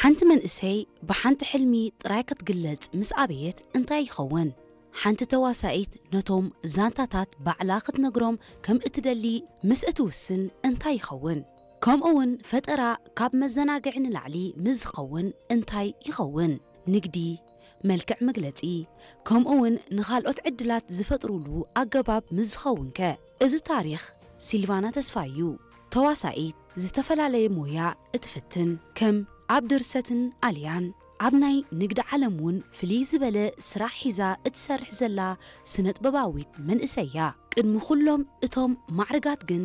ሓንቲ መንእሰይ ብሓንቲ ሕልሚ ጥራይ ክትግለጽ ምስ ኣበየት እንታይ ይኸውን? ሓንቲ ተዋሳኢት ነቶም ዛንታታት ባዕላ ክትነግሮም ከም እትደሊ ምስ እትውስን እንታይ ይኸውን? ከምኡውን ፈጠራ ካብ መዘናግዒ ንላዕሊ ምስ ዝኸውን እንታይ ይኸውን? ንግዲ፣ መልክዕ መግለጺ፣ ከምኡውን ንኻልኦት ዕድላት ዝፈጥሩሉ ኣገባብ ምስ ዝኸውን ከ? እዚ ታሪኽ ሲልቫና ተስፋይ እዩ። ተዋሳኢት ዝተፈላለየ ሞያ እትፍትን፣ ከም ኣብ ድርሰትን ኣልያን ኣብ ናይ ንግዲ ዓለም እውን ፍልይ ዝበለ ስራሕ ሒዛ እትሰርሕ ዘላ ስነጥበባዊት መንእሰይ እያ። ቅድሚ ኩሎም እቶም ማዕርጋት ግን